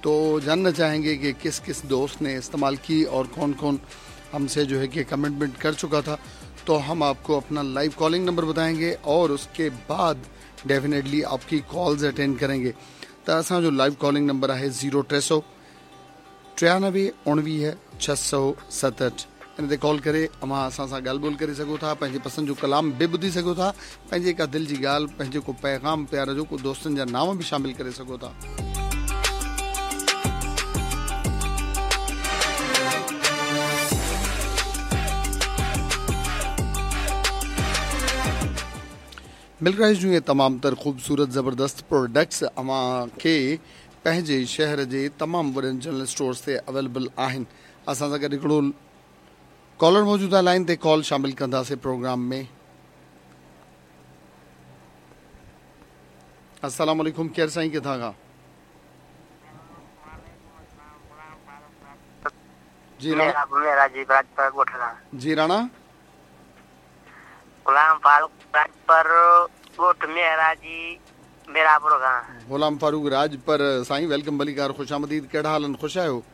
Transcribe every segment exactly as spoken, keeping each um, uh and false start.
तो जानना चाहेंगे कि किस किस दोस्त ने इस्तेमाल की और कौन कौन हमसे जो है कि कमिटमेंट कर चुका था। तो हम आपको अपना लाइव कॉलिंग नंबर बताएंगे और उसके बाद डेफिनेटली आपकी कॉल्स अटेंड करेंगे। त असांजो लाइव कॉलिंग नंबर आहे ज़ीरो टे सौ टियानवे उणिवीह छह सौ सतहठि। इन ते कॉल करे अव्हां असां सां ॻाल्हि ॿोल करे सघो था, पंहिंजी पसंदि जो कलाम बि ॿुधी सघो था, पंहिंजी का दिलि जी ॻाल्हि, पंहिंजो को पैगाम प्यार जो, को दोस्तनि जा नाम बि शामिल करे सघो था। मिल्क राइस जूं इहे तमामु तर ख़ूबसूरत ज़बरदस्त प्रोडक्ट्स अव्हां खे पंहिंजे शहर जे तमामु वॾनि जनरल स्टोर्स ते अवेलेबल आहिनि। असां सां गॾु हिकिड़ो कॉलर मौजूदु आहे लाइन ते, कॉल शामिल कंदासीं प्रोग्राम में। अस्सलाम वालेकुम, केरु साईं, किथां खां? जी राणा। जी राणा गुलाम फारूक राजपर ॻोठ मेहराजी मेरापुर खां। गुलाम फारूक राजपर साईं, welcome भलीकार, ख़ुशि आमदीद। कहिड़ा हाल आहिनि, ख़ुशि आहियो?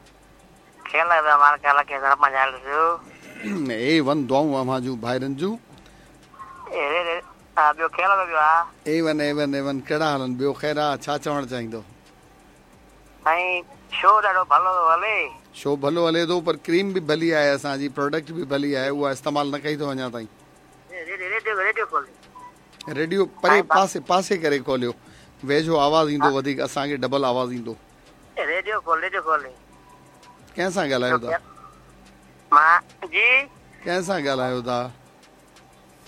ए वन दुआऊं अव्हां जूं भाइरनि जूं। A one A one A one. कहिड़ा हाल आहिनि? ॿियो ख़ैर आहे? छा चवणु चाहींदो? साईं शो ॾाढो भलो थो हले। शो भलो हले थो, पर क्रीम बि भली आहे असांजी, प्रोडक्ट बि भली आहे, उहा इस्तेमालु न कई अथव अञा ताईं? रेडियो रेडियो परे पासे पासे करे खोलियो, वेझो आवाज़ ईंदो वधीक, असांखे डबल आवाज़ ईंदो। रेडियो खोल, रेडियो खोल। कंहिंसां ॻाल्हायो था? मां जी। कंहिंसां ॻाल्हायो था?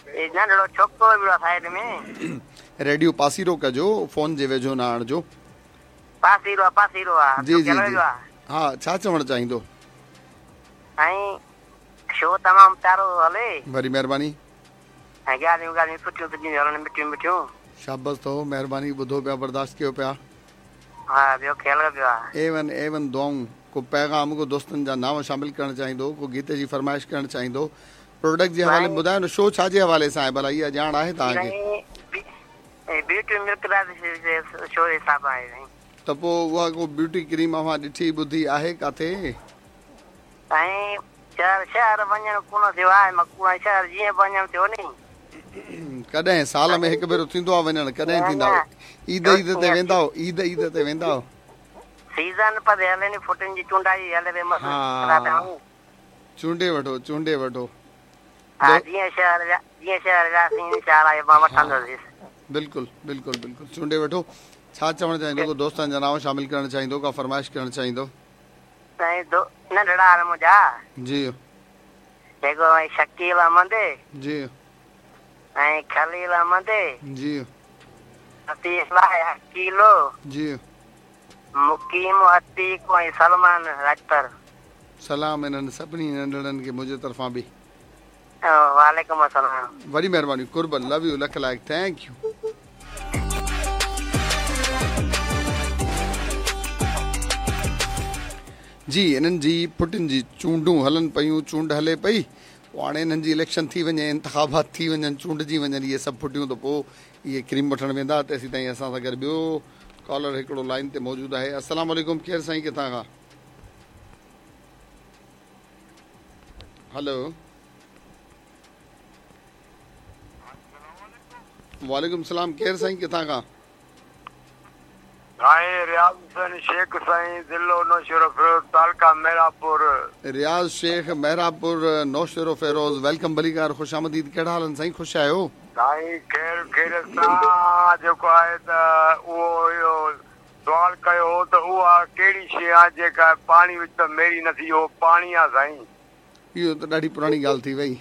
नंढड़ो छोकिरो बि आहे साइड में। रेडियो पासीरो कजो, फ़ोन जे वेझो न आणिजो। पासीरो आहे, पासीरो आहे। जी जी जी हा, छा चवणु चाहींदो? साईं शो तमामु प्यारो हले। वरी महिरबानी। ऐं ॻाल्हियूं ॻाल्हियूं सुठियूं सुठियूं हलनि, मिठियूं मिठियूं। शाबाश अथव, महिरबानी। ॿुधो पिया, बर्दाश्त कयो पिया। हा, ॿियो ख़्याल पियो आहे। ए वन ए वन दुआऊं। को पैगाम, को दोस्तनि जा नाम शामिल करणु चाहींदो, को गीत जी फरमाइश करणु चाहींदो, प्रोडक्ट जे हवाले में ॿुधायो न, शो छा जे हवाले सां आहे भला, इहा ॼाण आहे तव्हांखे? ब्यूटी मिल्क शो हिसाब आहे। त पोइ उहा को ब्यूटी क्रीम अव्हां ॾिठी ॿुधी आहे किथे? साईं शहर शहर वञणु कोन थियो आहे, मां शहर जीअं वञणु थियो नी। कॾहिं साल में हिकु भेरो थींदो आहे वञणु? कॾहिं थींदा? ईद ईद ते वेंदा हो? ईद ईद ते वेंदा हो? सीज़न पर हले नी, फुटनि जी चूंडाई हले पई मस्त। चूंडे वठो, चूंडे वठो। हा, जीअं शहर जीअं शहर वियासीं इंशाअल्लाह मां वठंदुसि। बिल्कुलु बिल्कुलु बिल्कुलु, चूंडे वठो। छा चवणु चाहींदो? को दोस्तनि जा नाम शामिल करणु चाहींदो, का फरमाइश करणु चाहींदो? साईं नंढड़ा आहिनि मुंहिंजा। जी। हिकिड़ो शकील अहमद। जी। ऐं खलील अहमद। जी। किलो। जी। मुकीम अतीक ऐं सलमान राजपर। सलाम इन्हनि सभिनी नंढड़नि खे मुंहिंजे तरफ़ां बि। वालेकुम अस्सलाम। वॾी महिरबानी, कुर्ब, लव you, लख लाइक़, thank you. जी, इन्हनि जी पुटनि जी चूंडूं हलनि पयूं, चूंड हले पई, पोइ हाणे इन्हनि जी इलेक्शन थी वञे, इंतिखाबात थी वञनि, चूंडजी वञनि इहे सभु फुटियूं, त पोइ इहे क्रीम वठणु वेंदा। तेसीं ताईं असां सां गॾु ॿियो कॉलर हिकिड़ो लाइन ते मौजूदु आहे। अस्सलाम वालेकुम, केरु साईं, किथां खां? हेलो, वालेकुम सलाम, केरु साईं, किथां खां? साईं रियाज़ हुसैन शेख साईं, ज़िलो नौशेरो फिरोज़, तालका मेहरापुर। रियाज़ शेख, मेहरापुर, नौशेरो फिरोज़, welcome भलीकार, ख़ुशि आमदीद। कहिड़ा हाल आहिनि साईं, ख़ुशि आहियो? साईं ख़ैर ख़ैर सां जेको आहे त उहो इहो सुवाल कयो हो त उहा कहिड़ी शइ आहे जेका पाणी विच त मेरी न थी, उहो पाणी आहे साईं। इहो त ॾाढी पुराणी ॻाल्हि थी वई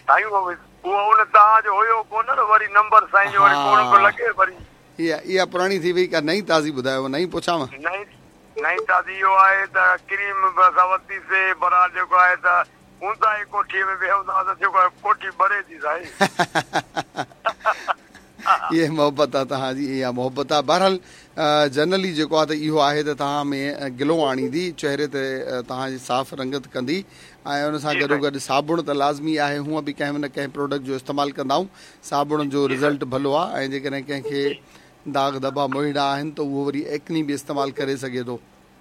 साईं। उहो उन तव्हांजो हुयो कोन न, वरी नंबर साईं जो वरी कोन पियो लॻे वरी। इहा इहा पुराणी थी वई, का नई ताज़ी ॿुधायो? नई पुछांव? नई नई ताज़ी इहो आहे त क्रीम असां वरितीसीं, बराल जेको आहे त ऊंदाही कोठीअ में वेहंदा त जेको आहे कोठी भरे थी साईं। इहा मोहबत आहे तव्हांजी, इहा मोहबत आहे। बहरहाल जनरली जेको आहे त इहो आहे त तव्हां में ग्लो आणींदी, चेहरे ते तव्हांजी साफ़ रंगत कंदी, ऐं उन सां गॾो गॾु साबुण त लाज़मी आहे। हूअं बि कंहिं न कंहिं प्रोडक्ट जो इस्तेमालु कंदा आहियूं, साबुण जो रिज़ल्ट भलो आहे। ऐं जेकॾहिं कंहिंखे दाग़ धबा मोहिड़ा आहिनि त उहो वरी एक्नी बि इस्तेमालु करे सघे थो।